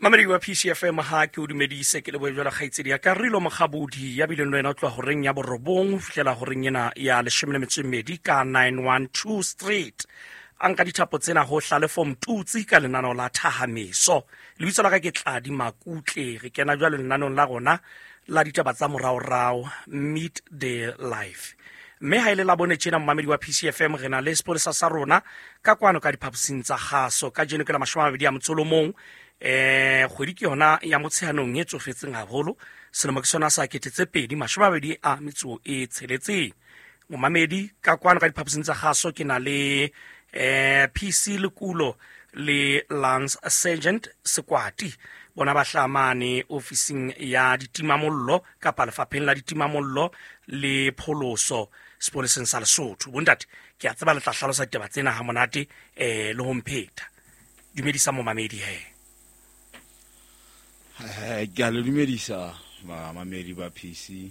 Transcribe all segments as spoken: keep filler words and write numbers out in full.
Mamedi wa P C F M, ha ke o dumedise ke lebohe jwalo kgaitsedi ya ka Rilo Mokgabodi ya bileng le wena o tloha horeng ya borobong ho fihlela horeng ena ya leshome le metso e mmedi ka nine one two Street. A nka dithapo tsena ho Hlalefo Mtutsi ka lenaneo la Thahameso. Lebitso la ka ke Tladi Makutle. Re kena jwale lenaneong la rona la ditaba tsa moraorao, Meet the Life. Mme ha ile la bone tjena momamedi wa P C F M, re na le sepolesa sa rona ka kwano ka diphaposing tsa kgaso. Kajeno ke la mashome a mabedi a motso o mong. Eh, kgwedi ke yona ya Motsheanong e tsofetseng haholo. Selemo ke sona sa kete tse pedi mashome a mabedi a metso e tsheletseng. Momamedi ka kwano ka diphaposing tsa kgaso ke na le eh P C Lekulo le Lance Sergeant Sekwati. Bona ba hlamane ofising ya ditimamollo kapa lefapheng la ditimamollo le pholoso sepoleseng sa Lesotho. Bontate, ke a tseba le tla hlalosa ditaba tsena ha monate eh le ho mpheta. Dumedisa momamedi he. Eh, ke a le dumedisa bamamedi ba P C.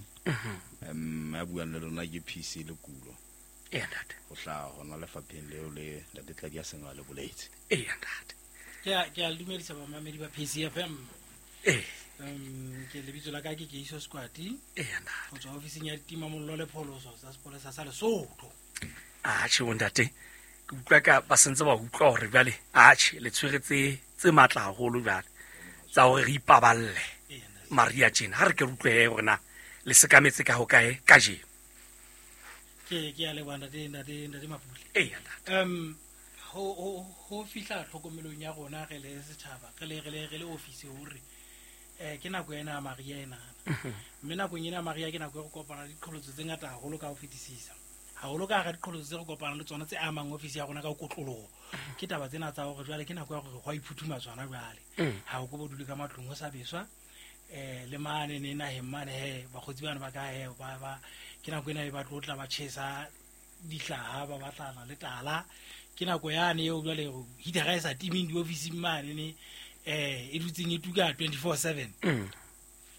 Em, ya buang le lona ke P C Lekulo. Ee, ntate. Ho hlaha hona lefapheng leo le ntate Tladi a seng a le boletse. Ee, ntate. Ke a, ke a le dumedisa bamamedi ba P C F M. Ee. Em, ke lebitso la ka ke Keiso Sekwati. Ee, ntate. Ho tswa ofising ya ditimamollo le pholoso tsa sepolesa sa Lesotho. Atjhe, bontate, ke utlwa ka ba sentse ba utlwa hore jwale, atjhe, le tshwere tse, tse matla haholo jwale tsa hore re ipaballe Maria tjena. Ha re ke re utlwe hore na le sekametse ka hokae kajeno. Ke, ke a leboha ntate, ntate, ntate Mapule. Ee, ntate. Em, ho, ho, ho fihla tlhokomelong ya rona re le setjhaba, re le, re le, re le ofisi hore, eh, ke nako ena ya Maria ena. Mhm. Mme nakong ena ya Maria ke nako e re kopana le diqholotso tse ngata haholo ka ho fetisisa. Haholo ka hara diqholotso tse re kopanang le tsona tse amang ofisi ya rona ka kotloloho. Ke taba tsena tsa hore jwale ke nako ya hore ho a iphuthumatswa hona jwale. Mm. Ha o ko bo dule ka matlong ho sa beswa. Eh, le mane ne naheng mane he, bakgotsi bana ba ka he, ba, ba, ke nako ena e ba tlo tla ba tjhesa dihlaha, ba batlana le tala. Ke nako yane eo jwale heater-a e sa timeng diofising mane ne, eh, e dutseng e tuka twenty-four seven. Mm.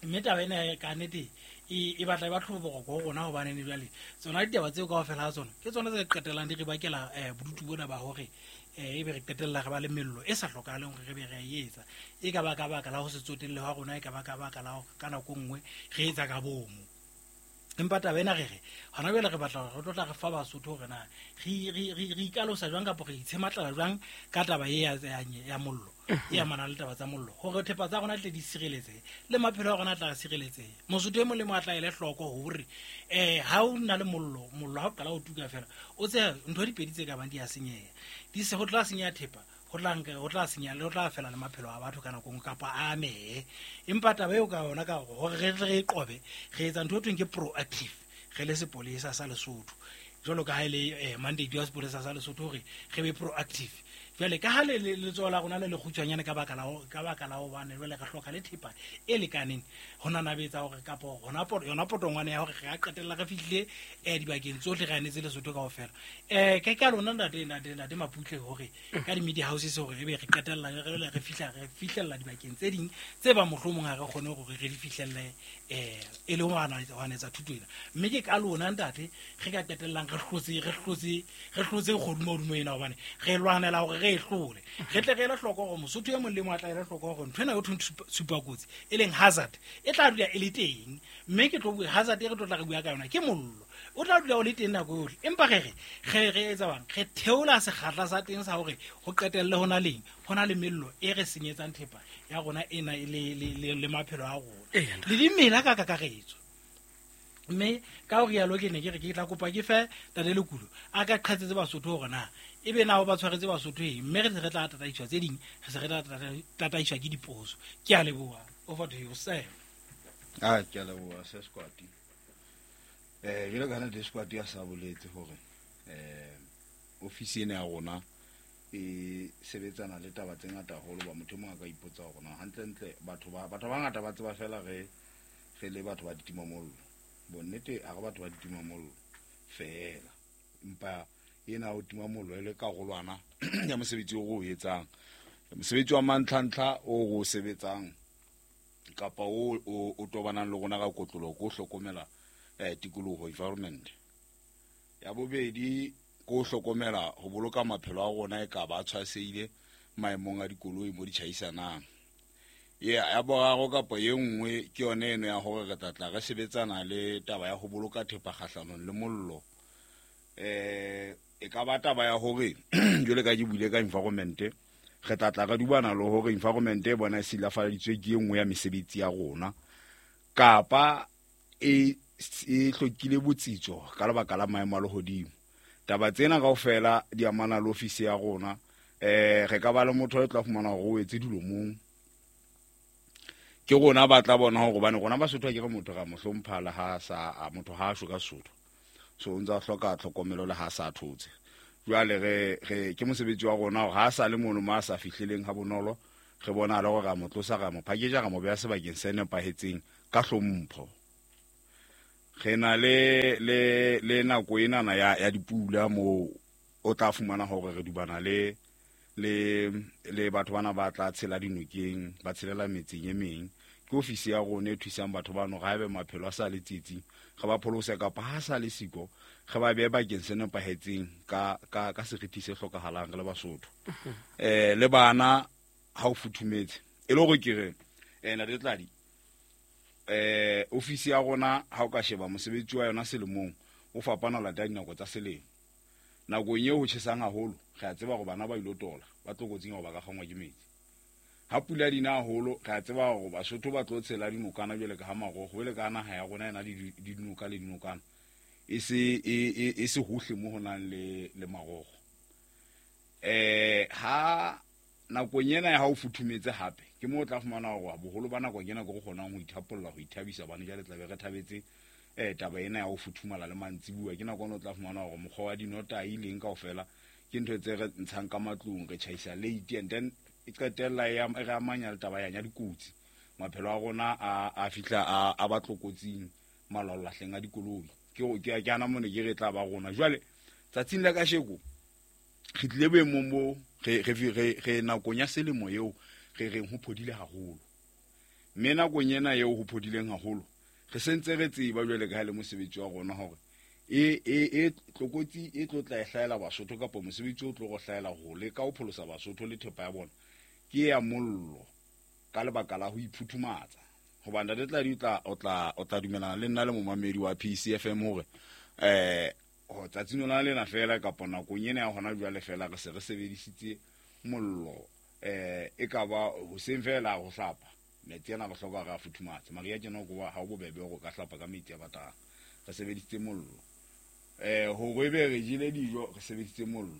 Mme taba ena ka nnete e, e batla e ba tlhobogo ho rona hobane ne jwale tsona ditaba tseo kaofela ha tsona ke tsona tse qetellang di re bakela, eh, bodutu bona ba hore, eh, ebe re qetella re ba le mello e sa hlokahaleng hore re be re e etsa. E ka ba ka baka la ho se tsotelle ha rona, e ka ba ka baka la hore ka nako e nngwe re etsa ka bomo. Empa taba ena re re hona jwale re batla hore re tlo tla re fa Basotho hore na re, re, re, re ikalosa jwang kapa re itshematlala jwang ka taba e ya, ya, ya mollo, e amanang le taba tsa mollo, hore thepa tsa rona tle di sireletsehe le maphelo a rona a tla sireletsehe. Mosotho e mong le mong a tla ele hloko hore, eh, ha o na le mollo, mollo ha o qala ho tuka fela, o tsebe ntho di pedi tse ka bang di a senyeha. Di se ho tla senyeha thepa, ho tla nka, ho tla senyeha le ho tla fela le maphelo a batho ka nako nngwe kapa a amehe. Empa taba eo ka yona ka hore re tle re e qobe, re etsa ntho e thweng ke proactive, re le sepolesa sa Lesotho. Jwalo ka ha e le, eh, mandate wa sepolesa sa Lesotho hore re be proactive. Jwale ka ha le, le, letsoho la rona le le kgutshwanyane ka baka la ho, ka baka la hobane jwale re hloka le thepa e lekaneng ho nanabetsa hore kapo hona poto, yona potongwane ya hore re ka qetella re fihlile, eh, dibakeng tsohle re anetse Lesotho kaofela. Eh, ke ka lona ntate, ntate, ntate Maputle hore ka di-media houses hore ebe re qetella re, re, re fihla, re fihlella dibakeng tse ding tse ba mohlomong ha re kgone hore re di fihlelle, eh, e le ho ana-, ho anetsa thuto ena. Mme ke ka lona ntate re ka qetellang re hlotse, re hlotse, re hlotse kgodumodumo ena hobane re lwanela hore re e hlole. Re tle re ele hloko hore Mosotho e mong le mong a tla ele hloko hore ntho ena eo thweng tshupa-, tshupakotsi e leng hazard e tla dula e le teng. Mme ke tlo bua hazard e re tlo tla re bua ka yona ke mollo. O tla dula o le teng nako yohle. Empa re re, re re etsa bang? Re theola sekgahla sa teng sa hore ho qetelle ho na leng, ho na le mello e re senyetsang thepa ya rona ena e le, le, le, le maphelo a rona. Ee, ntate. Le dimela ka kakaretso. Mme ka ho rialo ke ne ke re ke tla kopa ke fe Ntate Lekulo a ka qhatsetse Basotho hore na ebe na o ba tshwaretse Basotho eng, mme re se re tla tataiswa tse ding, re se re tla tata-, tataiswa ke dipotso. Ke a leboha. Over to you, sir. Ah, ke a leboha, Sir Sekwati. Eh, jwalo ka ha Ntate Sekwati a sa boletse hore, eh, ofisi ena ya rona e sebetsana le taba tse ngata haholo, ba motho e mong a ka ipotsa hore na hantlentle batho ba, batho ba bangata ba tseba fela re, re le batho ba ditimamollo. Bonnete ha re batho ba ditimamollo feela, empa ena ho tima mollo e le karolwana ya mosebetsi o re o etsang. Mosebetsi wa mantlhantlha o re o sebetsang kapa o, o, o tobanang le rona ka kotloloho ke ho hlokomela, eh, tikoloho, environment. Ya bobedi ke ho hlokomela ho boloka maphelo a rona e ka ba a tshwasehile maemong a dikoloi mo di tjhaisanang. Ya ya boraro kapa e nngwe ke yone eno ya hore re tla tla re sebetsana le taba ya ho boloka thepa kgahlanong le mollo. Eh e ka ba taba ya hore jwale ka ke buile ka environment, re tla tla re dubana le hore environment e bona e silafaditswe ke e nngwe ya mesebetsi ya rona, kapa e e hlokile botsitso ka lebaka la maemo a lehodimo. Taba tsena kaofela di amana le ofisi ya rona. Eh re ka ba le motho e tla fumana hore o etse dilomong, ke rona ba tla bona hore hobane rona Basotho ke re motho ra mo hlompha le ha sa motho ha a shwe ka Sesotho, so o ntsa hloka tlhokomelo le ha sa thotse. Jwale re re ke mosebetsi wa rona hore ha sa le mono ma sa fihleleng ha bonolo, re bona le hore ra mo tlosa, ra mo package, ra mo beha sebakeng se nepahetseng ka hlompho. Re na le le le nako enana ya ya dipula mo o tla fumana hore re dubana le le le batho bana ba tla tshela dinokeng, ba tshelela metseng e meng. Ke ofisi ya rona e thusang batho bano ga ebe maphelo a sa le tsietsing, re ba pholose kapa ha sa le siko, re ba behe bakeng se nepahetseng ka ka ka seriti se hlokahalang re le Basotho. Eh le bana ha o futhumetse e le hore ke re eh Ntate Tladi, eh ofisi ya rona ha o ka sheba mosebetsi wa yona selemong o fapana ho latela dinako tsa selemo. Nakong eo ho tjhesang haholo, re a tseba hore bana ba ilo tola, ba tlokotsing hore ba ka kgangwa ke metsi. Ha pula di na haholo, re a tseba hore Basotho ba tlo tshela dinokana jwale ka ha marogo, jwale ka naha ya rona e na le dinoka le dinokana, e se e e se hohle mo ho nang le le marogo. Eh ha nakong ena ya ha o futhumetse hape, ke mo o tla fumana hore boholo ba nako ke nako re kgonang ho ithapolla, ho ithabisa, bane jwale tla be re thabetse eh taba ena ya ho futhumala le mantsibuwa. Ke nako eno o tla fumana hore mokgwa wa dinotahi leng kaofela ke ntho tse re ntshang ka matlung, re tjhaisa late, and then e qetella e re amanya le taba ya dikotsi. Maphelo a rona a a fihla a a ba tlokotsing malwalahleng a dikoloi. Ke ke ke ana mone ke re tla ba rona jwale tsatsing la kasheko re tlile boemong bo re re re re nakong ya selemo eo re reng ho phodile haholo, mme nakong ena eo ho phodileng haholo re sentse re tseba jwale ka ha le mosebetsi wa rona hore e e e tlokotsi e tlo tla e hlahela Basotho kapa mosebetsi o tlo go hlahela ho leka ho pholosa Basotho le thepa ya bona ke ya mollo ka lebaka la ho iphuthumatsa. Hobane Ntate Tladi o tla o tla o tla dumelana le nna le momamedi wa P C F M hore eh ho tsatsing lona lena fela kapa nakong ena ya hona jwale fela re se re sebedisitse mollo eh e ka ba hoseng fela ho hlapa metsi ana re hloka re a futhumatse. Maria tjena ko ha o bobebe hore ka hlapa ka metsi a batang, re sebedisitse mollo. Eh hore ebe re jele dijo re sebedisitse mollo.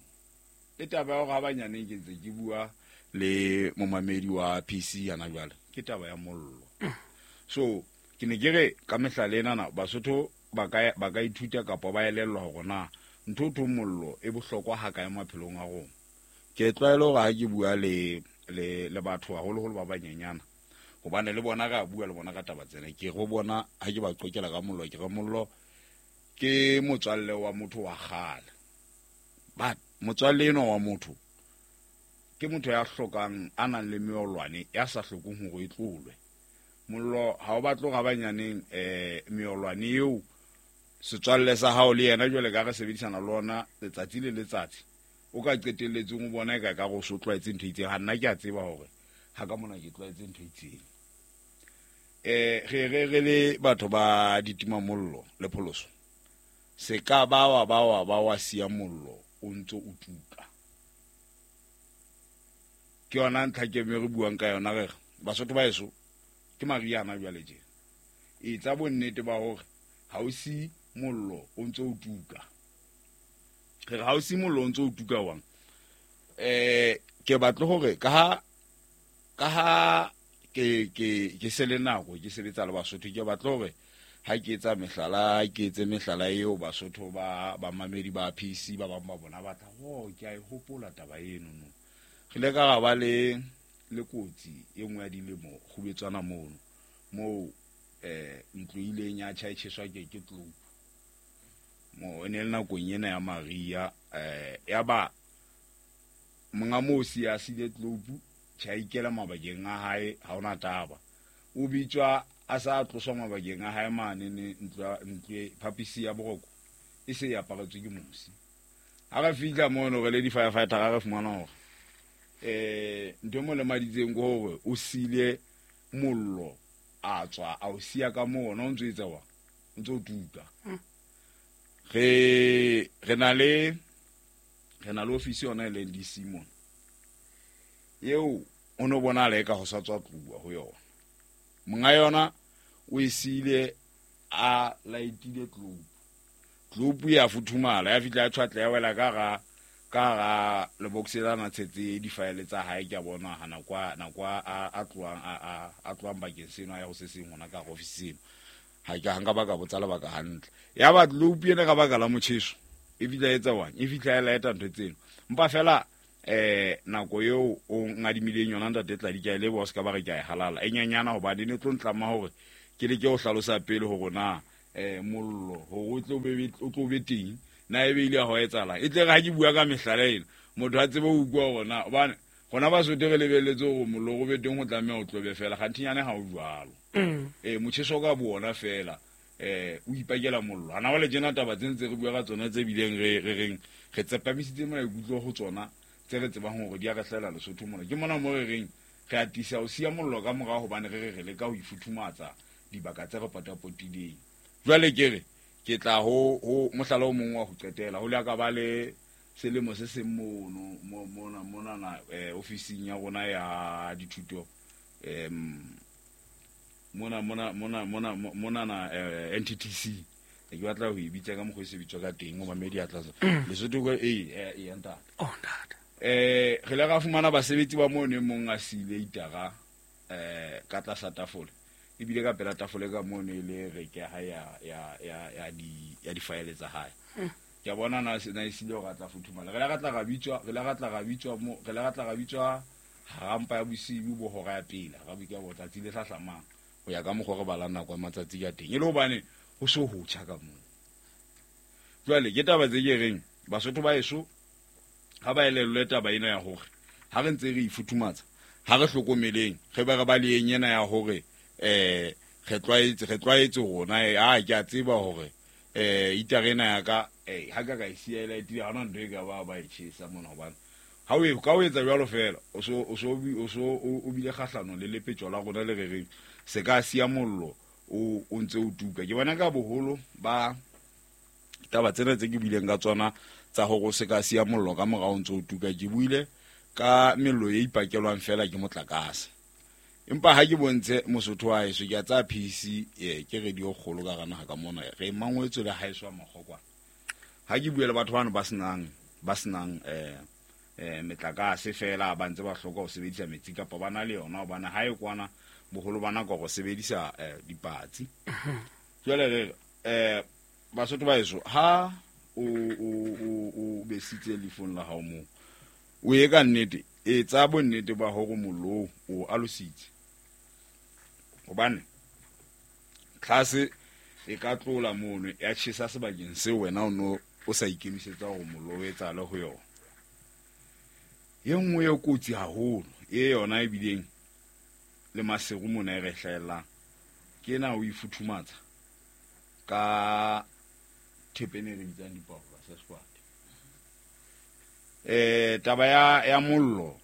Le taba ya hore ha banyaneng ke ntse ke bua le momamedi wa P C yana jwale ke taba ya mollo. So ke ne ke re ka mehlala enana Basotho ba ka ba ka ithuta kapa ba elellwa hore na ntho tho mollo e bohlokwa ha kae maphelong a rona. Ke tlwaelo hore ha ke bua le le le batho haholoholo ba banyenyana, hobane le bona ra bua le bona ka taba tsena, ke go bona ha ke ba qokela ka mollo, ke re mollo ke motswalle wa motho wa kgale, but motswalle eno wa motho ke motho ya hlokang a nang le meolwane ya sa hlokong hore e tlolwe. Mollo ha o batle ga banyaneng eh meolwane eo setswalle sa hao le yena jwale ka re sebedisana le ona letsatsi le letsatsi, o ka qetelletseng o bona e ka ka go so tlwaetse ntho e itseng. Ha nna ke a tseba hore ha ka mona ke tlwaetse ntho e itseng. Eh re re re le batho ba ditimamollo le pholoso, se ka ba wa ba wa ba wa siya mollo o ntso o tuka. Ke yona ntlha ke me re buang ka yona, re Basotho ba eso ke Mariana jwale tje etsa bonnete ba hore ha o si mollo o ntso o tuka. Re ha o si mollo o ntso o tuka wang eh ke batle hore ka ha ka ha ke ke ke se le nako ke sebetsa le Basotho, ke batle hore ha ke etsa mehlala ke etse mehlala eo Basotho ba ba mamedi ba P C ba bang ba bona ba tla ho ke a e hopola taba eno no. Re le ka ba le le kotsi e nngwe ya dilemo kgubetswana mono moo eh ntlo ileng ya tjha e tjheswa ke ke tlo mo e ne le nakong ena ya Maria eh ya ba monga moo si ya sile tlopu tjha ikela mabakeng a hae, ha ona taba o bitswa a sa tloswa mabakeng a hae mane ne ntlo ntlo phapisi ya boroko e se ya aparetswe ke mosi. Ha re fihla mono re le di firefighter ra re fumana hore eh ntho mo le maditseng ke hore o sile Mollo a tswa a o siya ka moo ona o ntso etsa wa o ntso tuka. Re re na le re na le ofisi yona e leng D C mona eo o no bona le ka ho sa tswa tluwa ho yona. Monga yona o e siile a laetile globe. Globe ya futhumala ya fihla ya tshwatla ya wela ka ga ka ga lebox la na tshetse di-file tsa hae ke a bona ha nako nako a a tloang a a tloang bakeng seno ya ho se seng hona ka office eno. Ha ke hanga ba ka botsa lebaka hantle. Ya ba globe ena ka baka la motjheso e fihla etsa wang e fihla ya laeta ntho tseno. Mpa fela eh nako eo o ngadimileng yona ntate Tladi ke a leboha o se ka ba re ke a e halala e nyenyana hobane ne tlo ntlama hore ke le ke o hlalosa pele hore na eh mollo hore o tlo be o tlo be teng na ebe ile ho etsahala e tle re ha ke bua ka mehlala ena motho a tsebe ho utlwa hore na hobane rona Basotho re lebelletse hore mollo o be teng ho tlameha o tlobe fela kganthinyane ha o jwalo. Eh motjheso ka bona fela eh o ipakela mollo ana wale tjena taba tse ntse re bua ka tsona tse bileng re re reng re tsepamisitse maikutlo ho tsona tse re tsebang hore di a re hlela Lesotho mona. Ke mona mo re reng re atisa ho siya mollo ka morao hobane re re re leka ho ifuthumatsa dibaka tse re potapotileng. Jwale ke re ke tla ho ho mohlala o mong wa ho qetela ho le ka ba le selemo se seng mono mona mona na ofising ya rona ya dithuto em mona mona mona mona mona na N T T C ke batla ho e bitsa ka mokgwa e se bitswa ka teng o mamedi a tlatsa Lesotho ko e e ya ntate oh ntate eh re le ra fumana basebetsi ba mo ne mong a sile itara eh ka tlasa tafole ebile ka pela tafole ka mo ne le re ke ha ya ya ya ya di ya di file tsa hae. Ke a bona na na isile hore a tla futhumala. Re la ra tla ra bitswa re la ra tla ra bitswa mo re la ra tla ra bitswa harampa ya bosiu bo hora ya pele ra bika bo tsatsi le hlahlamang ho ya ka mokgwa re bala nako ya matsatsi ka teng e le hobane ho so ho tjha ka moo. Jwale ke taba tse ke reng Basotho ba eso ha ba elellwe taba ena ya hore ha re ntse re ifuthumatsa ha re hlokomeleng re ba re ba le ena ya hore eh re tlwaetse re tlwaetse rona a ke a tseba hore eh itare ena ya ka eh ha ka ka e siya e tile ha ona ntho e ka ba ba e tjhesa mona hobane ha o ka o etsa jwalo fela o so o so o so o bile kgahlano le lepetjo la rona le re reng se ka siya mollo o o ntse o tuka. Ke bona ka boholo ba taba tsena tse ke buileng ka tsona tsa hore o se ka siya mollo ka morao o ntse o tuka ke buile ka mello e ipakelwang fela ke motlakase. Empa ha ke bontshe Mosotho wa heso ke a tsa P C eh ke radio kgolo ka rana ka mona re mangwetswe le haeso a makgokwana. Ha ke bua le batho bana ba senang ba senang eh eh metlakase fela ba ntse ba hloka ho sebedisa metsi kapa ba na le yona hobane ha e kwana boholo ba nako go sebedisa dipatsi. Jwale re eh Basotho ba heso ha o o o besitse lefong la hao mo o ye ka nnete e tsa bonnete ba hore mollo o alositse hobane tlase e ka tlola mono ya tjhesa sebakeng seo wena o no o sa ikemisetsa hore mollo o etsahale ho yona. E nngwe e kotsi haholo e yona e bileng le maseru mona e re hlahellang ke ena o ifuthumatsa ka thepe e re bitsang dipaola sa squad. Eh taba ya ya mollo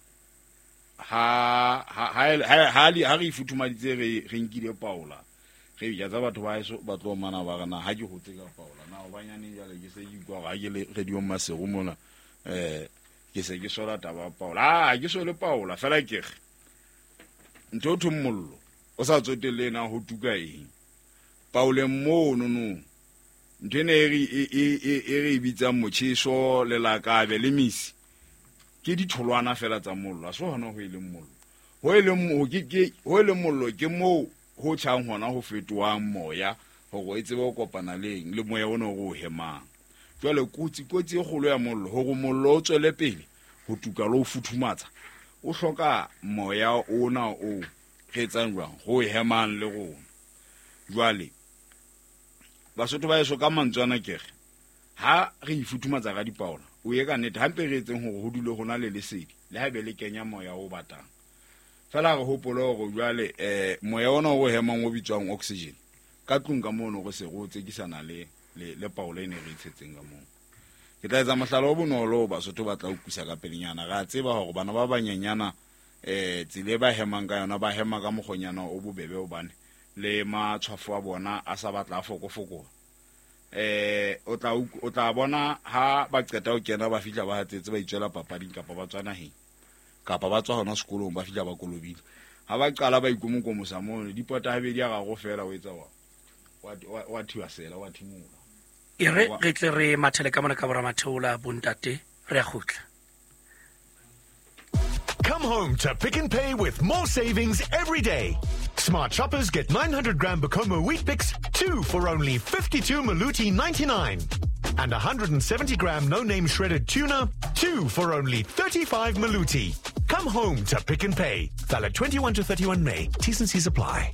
ha ha ha ha re ifuthumaditse re re nkile paola re ja tsa batho ba eso ba tlo mana ba rena ha ke hotse ka paola na hobanyane jwale ke se ke utlwa hore ha ke le radio maseru mona eh ke se ke sola taba ya paola ha ke sole paola fela ke re ntho thong mollo o sa tsotelle na ho tuka eng paoleng mono no ntho ena e re e re bitsang motjheso le lakabe le misi ke ditholwana fela tsa mollo a so hona ho e leng mollo ho e leng ho ke ke ho e leng mollo ke moo ho tjhang hona ho fetohang moya hore e tsebe ho kopana leng le moya ona o hemang. Jwale kotsi kotsi e kgolo ya mollo hore mollo o tswele pele ho tuka le ho futhumatsa o hloka moya ona o re etsang jwang ho hemang le rona. Jwale Basotho ba eso ka mantswe ana ke re ha re ifuthumatsa ka dipaola o ye ka nnete hampe re etseng hore ho dule hona le lesedi le haebe le kenya moya o batang fela re hopole hore jwale eh moya ona o hemang o bitswang oxygen ka tlung ka mono re se re o tsekisana le le le paola e ne re itshetseng ka moo. Ke tla etsa mohlala o bonolo Basotho ba tla utlwisa ka pelenyana. Re a tseba hore bana ba banyenyana eh tsela e ba hemang ka yona ba hema ka mokgonyana o bobebe hobane le matshwafo a bona a sa batla a fokofokola. Eh o tla o tla bona ha ba qeta ho kena ba fihla ba hatsetse ba itswela papading kapa ba tswa naheng kapa ba tswa hona sekolong ba fihla ba kolobile. Ha ba qala ba ikomokomosa mono dipota habedi a gago fela o etsa wa wa wa thiwa sela wa thimola. E re re tle re mathele ka mona ka bora matheola bontate re a kgutla. Come home to Pick n Pay with more savings every day. Smart shoppers get nine hundred gram Bokomo Wheat Bix, two for only fifty-two Maluti ninety-nine. And one hundred seventy gram no-name shredded tuna, two for only thirty-five Maluti. Come home to Pick n Pay. Valid twenty-one to thirty-one May. T's and C's apply.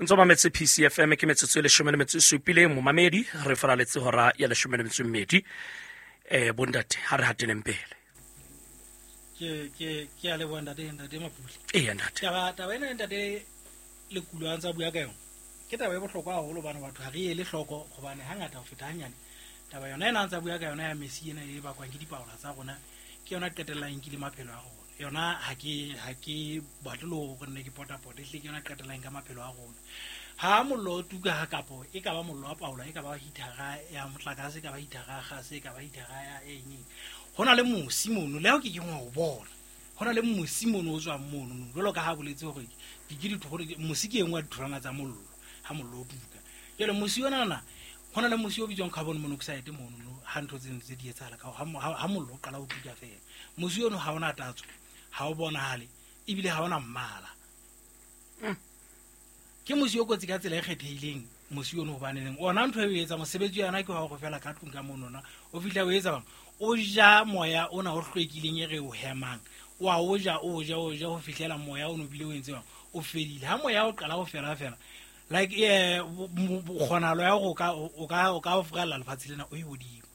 Ntse mametse P C F M ke metsotso e leshome le metso e supileng momamedi re faraletse hora ya leshome le metso e mmedi. Eh bontate ha re hateleng pele. Ke ke ke a leboha ntate ntate Mapule. Ee ntate. Taba taba ena ntate Lekulo a ntsa bua ka yona. Ke taba e bohlokwa haholo hobane batho ha re ele hloko hobane hangata ho feta hanyane. Taba yona ena a ntsa bua ka yona ya mesi ena e bakwang ke dipaola tsa rona ke yona qetellang e nkile maphelo a rona. Yona ha ke ha ke batle le hore nne ke potapota ehlile ke yona qetellang ka maphelo a rona. Ha mollo o tuka ha kapo e ka ba mollo wa paola e ka ba hitara ya motlakase e ka ba hitara ya gase e ka ba hitara ya eng. Ho na le mosi mono le ha ke ke ngwa o bona. Ho na le mosi mono o tswang mono jwalo ka ha boletse hore di ke ditho mosi ke engwe ya ditholwana tsa mollo ha mollo o tuka. Jwale mosi ona na ho na le mosi o bitswang carbon monoxide mono ha ntho tseno tse di etsahala ka ha mollo o qala ho tuka fela. Mosi ono ha ona tatso, ha o bonahale ebile ha ona mmala. Ke mosi o kotsi ka tsela e kgethehileng mosi ono hobaneng ona ntho e etsa mosebetsi yana ke wa go fela ka tlung ka monona o fihla o etsa bang o ja moya ona o hlwekileng e re o hemang wa o ja o ja o ja ho fihlela moya ono bile o entse bang o fedile. Ha moya o qala ho fela fela like eh kgonalo ya go ka o ka o ka o frella lefatshe lena o e hodimo.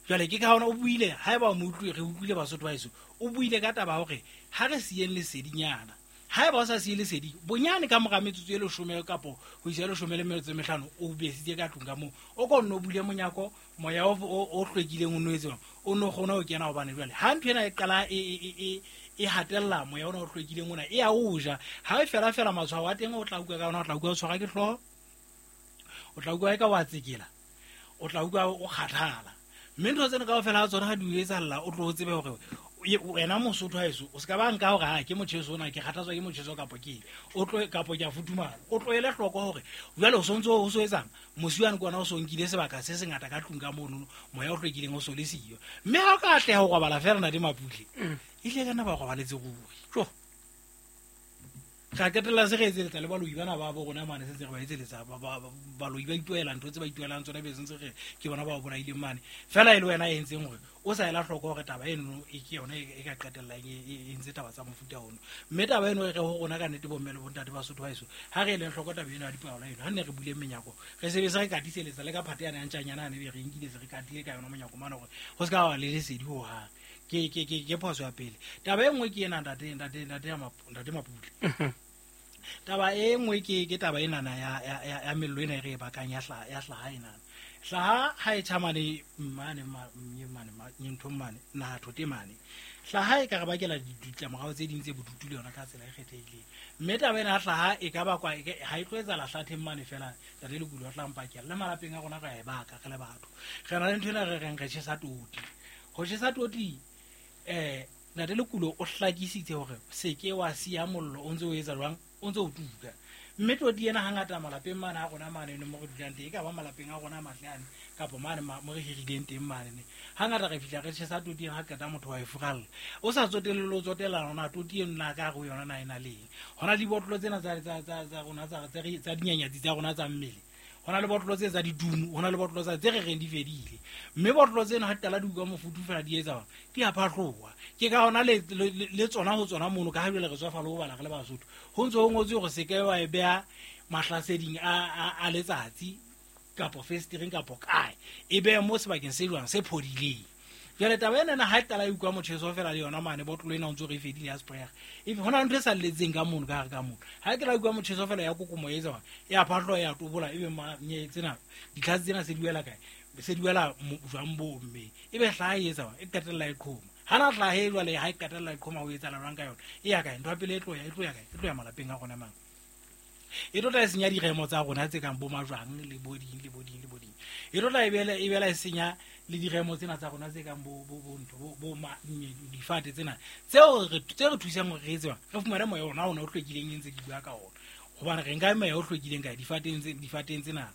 Jwale ke ka hona o buile haeba o mo utlwe re utlwile Basotho ba heso o buile ka taba hore ha re siyeng lesedinyana haeba o sa siye lesedi bonyane ka mora metsotso e leshome kapo ho isa leshome le metso e mehlano o besitse ka tlung ka moo o ko nno bule monyako moya o o hlwekileng o no etse o no kgona ho kena hobane jwale ha ntho ena e qala e e e hatella moya ona o hlwekileng ona e a o ja ha e fela fela matshwao a teng o tla utlwa ka ona o tla utlwa o tshwara ke hlooho o tla utlwa e ka wa tsekela o tla utlwa o kgathala mme ntho tsena kaofela ha tsona ha di o etsahalla o tlo o tsebe hore wena Mosotho haeso o ska ba nka hore ha ke motjheso ona ke kgathatswa ke motjheso kapo ke o tlo kapo ke a futhumala o tlohele hloko hore jwale o sontso o so etsang mosi wane ke ona o so nkile sebaka se sengata ka tlung ka mono moya o hlwekileng o so le siyo mme ha o ka atleha ho robala fela ntate Mapule ehlile ka nna ba robaletse ruri. Ra qetella se re etseletsa le baloi bana ba bo rona mane se ntse re ba etseletsa baloi ba ituela ntho tse ba ituelang tsona be sentse re ke bona ba bolaileng mane fela e le wena e entseng hore o sa ela hloko hore taba eno e ke yona e ka qetellang e entse taba tsa mofuta ono mme taba eno e re ho rona ka nnete bomme le bontate ba Sotho ba heso ha re eleng hloko taba eno ya dipaola eno ha nne re buleng menyako re sebetsa re katiseletsa le ka phate yana ya ntjanyana ane be re nkile se re katile ka yona monyako mane hore ho se ka wa le lesedi hohang. Ke ke ke ke phoso ya pele. Taba e nngwe ke ena ntate ntate ntate ntate Mapule. Taba e nngwe ke ke taba ena na ya ya ya mello ena e re e bakang ya hla ya hlaha ena. Hlaha ha e tjhamane mane mane mane nthong mane naha thote mane. Hlaha e ka re bakela ditlamorao tse ding tse bodutu le yona ka tsela e kgethehileng. Mme taba ena ya hlaha e ka bakwa ha e tlo etsahala hlatheng mane fela ntate Lekulo o tla mpakela le malapeng a rona re a e baka re le batho. Re na le ntho ena re reng re tjhesa toti. Ho tjhesa toti eh ntate Lekulo o hlakisitse hore se ke wa siya mollo o ntse o etsa jwang o ntse o tuka mme toti ena hangata malapeng mane a rona mane mo re dulang teng e ka ba malapeng a rona a matle ane kapa mane mo re hirileng teng mane ne hangata re fihla re tjhesa toti ena ha qeta motho wa e furalla o sa tsotelle o tsotella rona toti eno na ka re yona na ena leng hona dibotlolo tsena tsa tsa tsa tsa rona tsa tsa dinyanyatsi tsa rona tsa mmele hona le botlolo tse tsa didumo hona le botlolo tsa tse re reng di fedile mme botlolo tsena ha tala di utlwa mofutu fela di etsa di a phatloha ke ka hona le le tsona ho tsona mono ka ha jwale re tswa fa le ho bala re le Basotho ho ntse ho ngotswe hore se ke wa e beha mahlaseding a a letsatsi kapo festereng kapo kae e behe mo sebakeng se jwang se phodileng. Jwale taba ena na ha e tala e utlwa motjheso fela le yona mane botlolo ena o ntse re fedile ya sprayer e hona ntho e sa lletseng ka mono ka hare ka mono ha ke la utlwa motjheso fela ya kokomo e etsa ya phatlo ya tobola ebe ma tsena ditlhatsi tsena se di wela kae se di wela jwang bo mme ebe hlaha e etsa e qetella e qhoma Ha na hlahe jwale ha e qetella e qhoma ho etsahala jwang ka yona e ya kae? Ntho ya pele e tlo ya e tlo ya kae? E tlo ya malapeng a rona mang. E tlo tla e senya diremo tsa rona tse kang bo majwang le bo ding le bo ding le bo ding. E tlo tla e bela e bela e senya le diremo tsena tsa rona tse kang bo bo bo ntho bo bo difate tsena tseo re tse re thusang hore re etse re fumane moya ona ona o hlwekileng e ntse ke bua ka ona. Hobane re nka moya o hlwekileng kae difateng tse difateng tsena.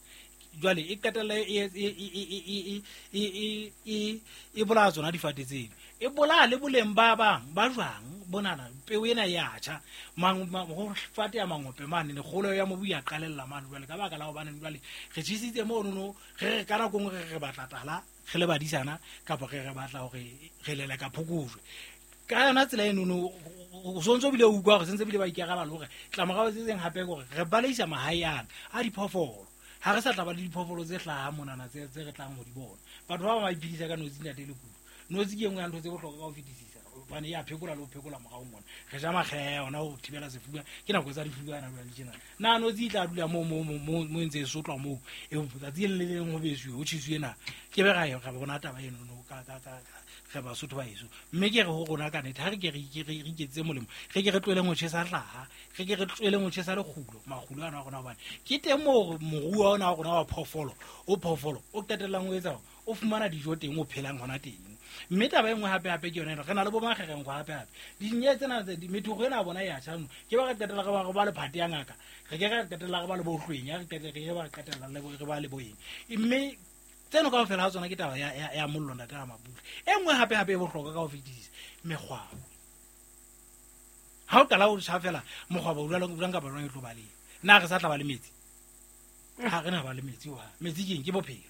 Jwale e qetella e e e e e e bolaya tsona difate tseno. E bolaya le boleng ba bang ba jwang bonana peo ena ya tjha mang ho fate ya mangope mane le kgolo ya mobu ya qalella mane jwale ka baka la hobane jwale re tjhisitse mono no re re ka nako nngwe re re batla tala re le badisana kapa re re batla hore re leleka phokojwe ka yona tsela eno no o sontso bile o utlwa hore sentse bile ba ikaraba le hore tlamorao tse tseng hape hore re baleisa mahae ana a diphoofolo. Ha re sa tla ba le diphoofolo tse hlahang monana tse tse re tlang ho di bona. Batho ba bang ba iphedisa ka notsi ntate le kudu. Notsi ke e nngwe ya ntho tse bohlokwa ka ho fetisisa hobane ya phekola le ho phekola morao mona. Re ja makgeha ona ho thibela sefuba ke nako tsa difuba ana jwale tjena. Na notsi e tla dula moo moo moo mo ntse e sotlwa moo e tsatsi le le leng ho besuwe ho tjhisuwe na ke be ra ra bona taba eno no ka ka ka re Basotho ba heso. Mme ke re ho rona ka nnete ha re ke re re iketsetse molemo re ke re tlohele ho tjhesa hlaha re ke re tlohele ho tjhesa lekgulo makgulo ana a rona hobane ke teng moo moruo ona wa rona wa phoofolo o phoofolo o qetellang o etsa o fumana dijo teng o phelang hona teng. Mme taba e nngwe hape hape ke yona ena re na le bo makgerengo hape hape dinye tsena tse methoko ena bona ya tjha no ke ba re qetella re ba re ba le phate ya ngaka re ke re qetella re ba le bohlweng ya re qetella re ba qetella le re ba le boeng mme tseno kaofela ha tsona ke taba ya ya mollo ntate a Mapule. E nngwe hape hape e bohlokwa ka ho fetisisa mekgwabo. Ha o qala o tjha fela mokgwabo o jwalo jwang kapa jwang e tlo ba le na re sa tla ba le metsi ha re na ba le metsi wa metsi ke eng ke bophelo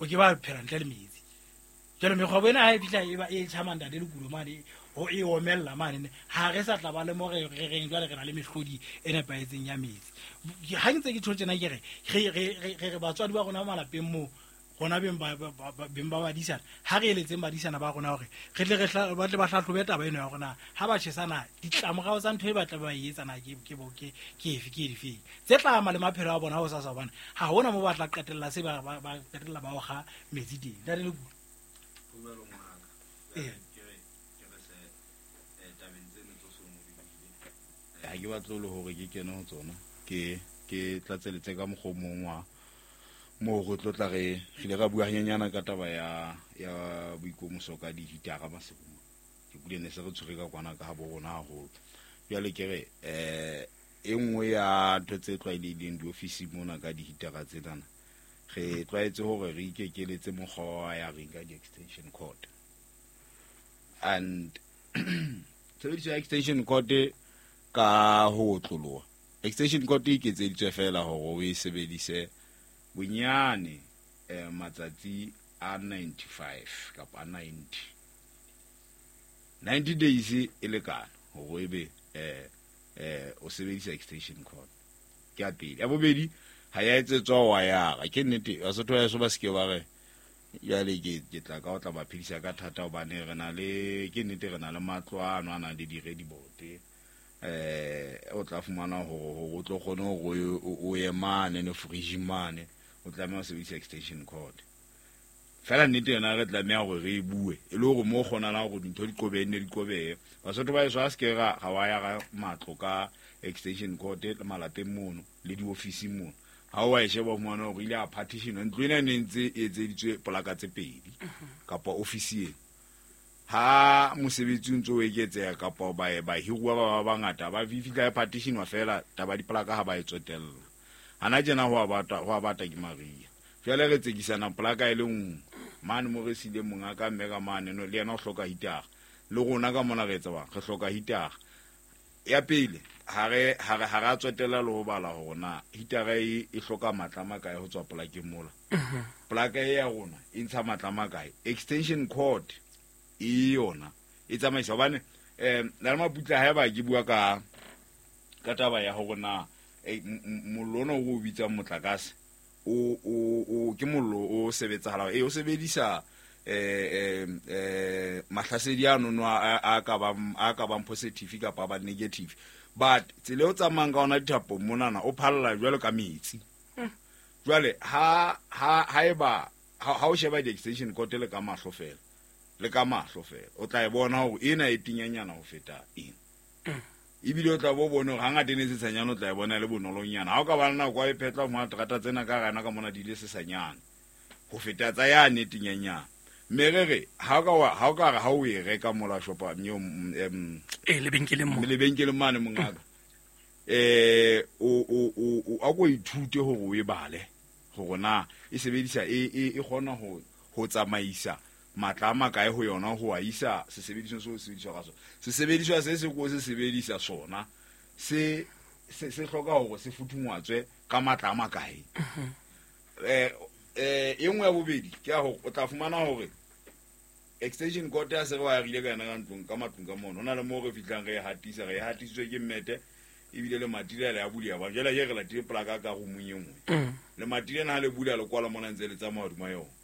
o ke ba phela ntle le metsi. Jwale mekgwabo ena ha e fihla e ba e tjha mandate le kulo mane ho e omella mane ha re sa tla ba le mo re re reng jwale re na le mehlodi e nepahetseng ya metsi. Ha ntse ke tjho tjena ke re re re re batswadi ba rona malapeng moo rona beng ba beng ba badisana ha re eletseng badisana ba rona hore re tle re ba tle ba hlahlobe taba eno ya rona ha ba tjhesana ditlamorao tsa ntho e batla ba e etsana ke ke ke ke efe ke difeng tse tla ama le maphelo a bona ho sasa hobane ha hona mo ba tla qetella se ba ba qetella ba oga metsi teng. Ntate le kudu ho jwalo ngaka ke re ke re se tabeng tseno tso so mo di buile ha ke batle le hore ke kene ho tsona ke ke tlatseletse ka mokgwa o mong wa mo re tlo tla re re ra bua hanyenyana ka taba ya ya boikomoso ka dihitara masekong ke kule ne se re tshwere ka kwana ka ha bo rona haholo. Jwale ke re eh e nngwe ya ntho tse tlwaelehileng diofisi mona ka dihitara tsena re tlwaetse hore re ikekeletse mokgwa wa ya reng ka di-extension cord and tshebediso ya extension cord ka ho otloloha extension cord e iketseditswe fela hore o e sebedise bonyane eh, matsatsi a ninety-five kapa a ninety ninety days e lekana hore ebe eh eh o sebedisa extension cord. Ke ya pele. Ya bobedi ha ya etsetswa wayara ke nnete Basotho ba heso ba seke ba re jwale ke ke tla ka o tla ba phedisa ka thata hobane re na le ke nnete re na le matlo ano a nang le di-ready-board eh o tla fumana hore o tlo kgone hore o ye mane ne fridge mane o tlameha ho sebedisa extension cord. Fela nnete yona re tlameha hore re e bue e le hore mo kgonalang hore dintho di qobehe nne di qobehe. Basotho ba heso ha se ke ra ga wa ya ga matlo ka extension cord le malapeng mono le diofising mono ha o a e sheba o fumana hore ile a partition ntlo ena e ne ntse e etseditswe polaka tse pedi kapa ofisi ena. Ha mosebetsi o ntse o eketseha kapa ba bahiruwa ba ba bangata ba fihla e partition wa fela taba dipolaka ha ba e tsotella. Hana tjena ho a bata ho a bata ke Maria. Jwale re tsekisana polaka e le nngwe mane mo re sile monga ka mme ka mane no le yena o hloka hitara le rona ka mona re etsa bang re hloka hitara. Ya pele ha re ha re ha ra tsotella le ho bala hore na hitara e e hloka matla a makae ho tswa polakeng mola. Polaka e ya rona e ntsha matla a makae extension cord e yona e tsamaisa hobane eh na le Maputla haeba ke bua ka ka taba ya hore na mollo ona o bitsang motlakase o o o ke mollo o sebetsahala e o sebedisa eh eh mahlasedi ano no a ka ba a ka bang positive kapa ba negative but tsela o tsamayang ka ona dithapo monana o phalla jwalo ka metsi. Jwale ha ha haeba ha o sheba di-extension cord le ka mahlo fela Le ka mahlo fela o tla e bona hore ena e tinyanyana ho feta ena. Ebile o tla bo bone hore hangata e ne sesanyana o tla e bona e le bonolonyana. Ha o ka ba le nako wa e phetla ho terata tsena ka rana ka mona di ile sesanyana ho feta tsa yane e tinyanyana. Mme re re ha o ka wa ha o ka re ha o e reka mola shopa em e lebenkeleng mo lebenkeleng mane mongaka eh o o o a go ithute hore o e bale hore na e sebedisa e e kgona ho ho tsamaisa matla a makae ho yona ho a isa sesebediswa seo sebediswa ka sona. Sesebediswa se se ko se sebedisa sona se se se hloka hore se futhungwatswe ka matla a makae. Eh eh e nngwe ya bobedi ke ya hore o tla fumana hore extension cord ya se re wa rile ka yona ka ntlong ka matlong ka mono. Ho na le moo re fihlang re e hatisa, re e hatisitswe ke mmete ebile le mati le a bulia ba jela ye re latile plaka ka roomong e nngwe. Le mati lena ha le bula le kwala mona ntse le tsamaya hodima yona.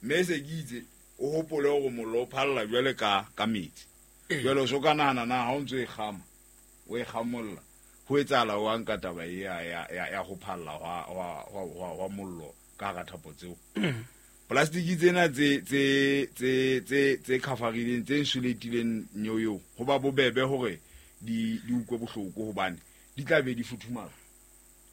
Mme se ke itse o hopole hore mollo o phalla jwale ka ka metsi. Jwale o so ka nahana na ha o ntso e kgama o e kgamolla ho etsahala o nka taba e ya ya ya ho phalla hwa hwa hwa mollo ka hara thapo tseo. Plastic tsena tse tse tse tse tse khafarileng tse insulatileng nyoyo ho ba bobebe hore di di utlwe bohloko hobane di tla be di futhumala.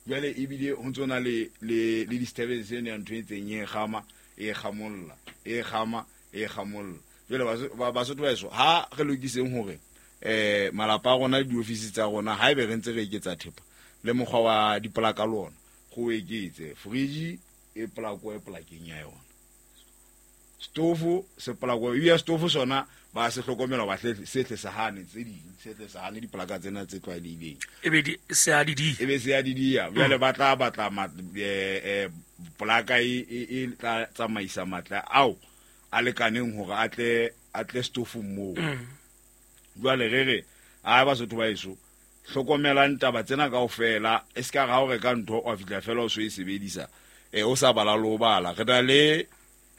Jwale ebile ho ntso na le le le disturbance ene ya ntho e ntseng e kgama e kgamolla e kgama e kgamolla. Jwale ba Basotho ba eso ha re lokiseng hore eh malapa a rona le diofisi tsa rona ha ebe re ntse re eketsa thepa le mokgwa wa dipolaka le ona go eketse fridge e polako e polakeng ya yona, stofo se polako e ya stofo sona ba se hlokomela ba hle se tle sa hane tse ding se tle sa hane dipolaka tsena tse tlwaelehileng e be di se a di di e be se a di dia. Jwale ba tla batla eh polaka e e tla tsamaisa matla ao a lekaneng hore a tle a tle stofong moo. Jwale re re a Basotho ba eso hlokomelang taba tsena kaofela e se ka ra o reka ntho wa fihla fela o so e sebedisa e o sa bala le ho bala. Re na le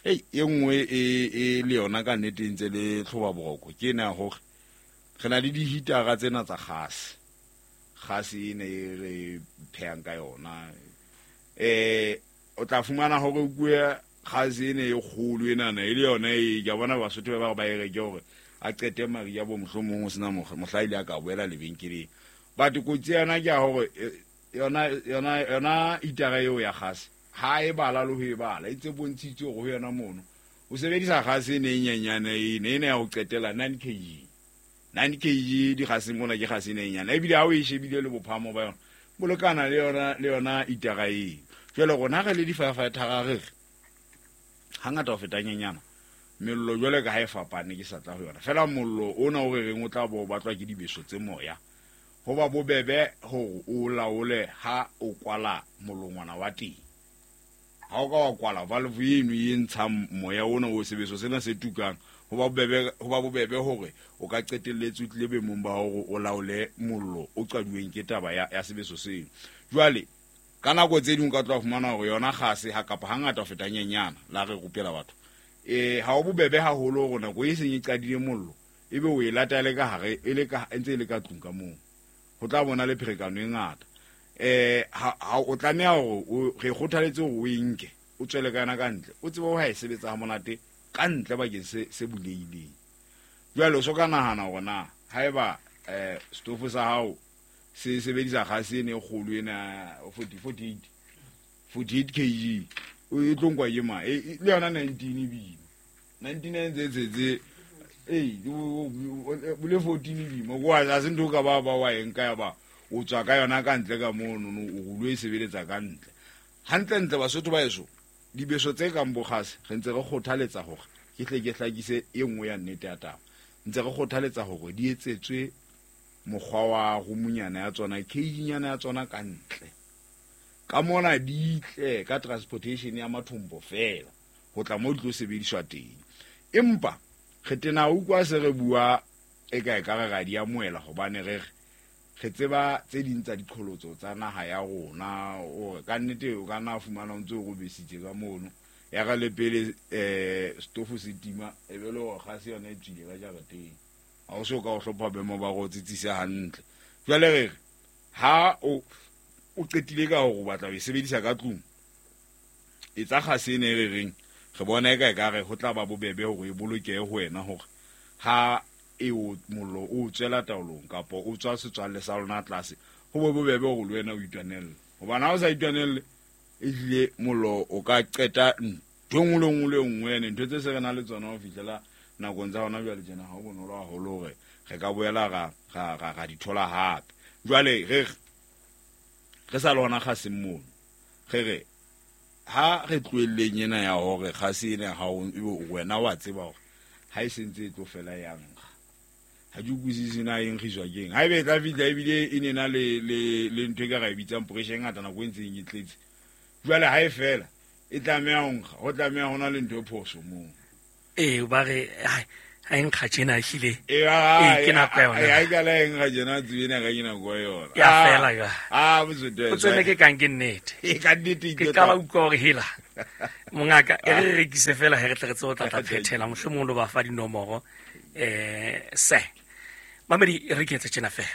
ei e nngwe e e le yona ka nnete e ntse le tlhoba boroko ke ena hore re na le dihitara tsena tsa gase. Gase ene e re phehang ka yona eh o tla fumana hore kue gase ene e kgolo enana e le yona e ke a bona Basotho ba ba e reke hore a qete mari ya bo mohlomong ho sena mohla ile a ka boela lebenkeleng. But kotsi yona ke ya hore yona yona yona hitara eo ya gase ha e bala le ho e bala e tse bontshitswe hore ho yona mono o sebedisa gase ene e nyenyane ene ene ya ho qetela nine kg nine kg di gase mona ke gase ene e nyenyane ebile ha o e shebile le bophamo ba yona bo lekana le yona le yona hitara eo. Jwale rona re le di-firefighter re re hangata ho feta nyenyana mello jwale ka ha e fapane ke sa tla ho yona fela mollo ona o re reng o tla bo batlwa ke dibeso tse moya ho ba bobebe hore o laole ha o kwala molongwana wa teng. Ha o ka wa kwala valve eno e ntshang moya ona o sebeso sena se tukang ho ba bobebe ho ba bobebe hore o ka qetelletse o tlile boemong ba hore o laole mollo o qaduweng ke taba ya ya sebeso seno. Jwale ka nako tse ding o ka tloha fumana hore yona gase ha kapa hangata ho feta nyenyana la re rupela batho eh ha o bobebe haholo hore nako e seng e qadile mollo ebe o e lata le ka hare e le ka ntse e le ka tlung ka moo ho tla bona le pherekano e ngata. Eh ha o tlameha hore re kgothaletse hore o e nke o tswele ka yona ka ntle o tsebe ho e sebetsa ha monate ka ntle bakeng se se bulehileng. Jwale o so ka nahana hore na haeba eh stofo sa hao se sebedisa gase ene e kgolo ena forty forty-eight forty-eight kg o e tlo nkwa ke ma le yona nineteen ebile nineteen tse tse tse eh bole fourteen ebile mo a se ntho ka ba ba wa eng ka ya ba o tswa ka yona ka ntle ka mono o lo e sebeletsa ka ntle. Hantlentle Basotho ba eso dibeso tse kang bo gase re ntse re kgothaletsa hore ke tle ke hlakise e nngwe ya nnete ya taba ntse re kgothaletsa hore di etsetswe mokgwa wa roomonyana ya tsona cage-nyana ya tsona ka ntle ka mona di tle ka transportation ya mathombo fela ho tla mo di tlo sebediswa teng. Empa re tena utlwa se re bua e ka e ka re ra di amohela hobane re re tseba tse ding tsa diqholotso tsa naha ya rona hore ka nnete o ka nna fumana o ntse o robesitse ka mono ya ka le pele eh stofo se tima e be le hore gase yona e tswile ka jarateng ha o so ka o hlopha boemo ba go tsitsisa hantle. Jwale re re ha o o qetile ka hore o batla ho e sebedisa ka tlung etsa gase ene e re reng Re bona eka e ka re ho tla ba bobebe hore e bolokehe ho wena hore ha e o mollo o tswela taolong kapa o tswa setswalle sa lona tlase, ho be bobebe hore le wena o itwanelle. Hobane ha o sa itwanelle, ehlile mollo o ka qeta ntho e nngwe le nngwe le nngwe, ene ntho tse se re nang le tsona ho fihlela nakong tsa hona jwale tjena, ha ho bonolo haholo hore re ka boela ra ra ra ra di thola hape. Jwale re re sa le hona kgaseng mono, re re ha re tlohelleng ena ya hore kgase ena ha o wena wa tseba hore ha e sentse e tlo fela ya nkga. Ha ke utlwisise na e nkgiswa keng. Ha ebe e tla fihla ebile e ne na le le le ntho e ka ra e bitsang pressure e ngata nako e ntseng e tletse. Jwale ha e fela e tlameha ho nkga, ho tlameha ho na le ntho e phoso moo. Ee, ba re ha e nkga tjena ehlile. Ee, Ee, ke nako ya yona. Ha e kala e nkga tjena, tsebe ena ka ke nako ya yona. Ya fela jwale. Ah, botsoto. O tswele ke kang ke nnete. E ka nnete Ke ke qala tla- utlwa hore hela. Mongaka, e re rekise fela he re tle re tsebe ho tla tla phethela, mohlomong lo ba fa dinomoro. Eh, se. Mamedi, re ke etse tjena fela.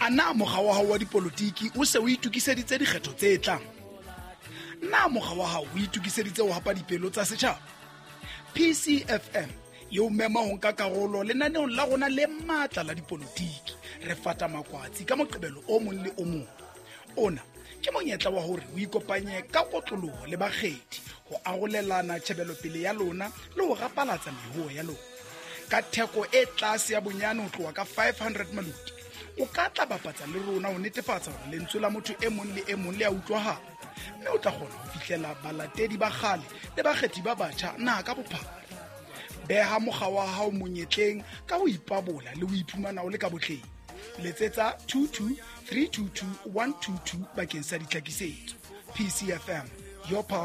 A na mokga wa hao wa dipolotiki o se o itokiseditse dikgetho tse tlang? Na mokga wa hao o itokiseditse ho hapa dipelo tsa setjhaba? P C F M e o mema ho nka karolo lenaneong la rona le matla la dipolotiki. Re fata makwatsi ka Moqebelo o mong le o mong. Ona ke monyetla wa hore o ikopanye ka kotloloho le bakgethi ho arolelana tjhebelopele ya lona le ho rapalatsa mehoo ya lona. Ka theko e tlase ya bonyane ho tloha ka five hundred maluti, o ka tla bapatsa le rona ho netefatsa hore lentswe la motho e mong le e mong le a utlwahala, mme o tla kgona ho fihlela balatedi ba kgale le bakgethi ba batjha naha ka bophara. Beha mokga wa hao monyetleng ka ho ipabola le ho iphumana o le ka botleng. Letsetsa two two three two two one two two bakeng sa ditlhakisetso. P C F M, your power.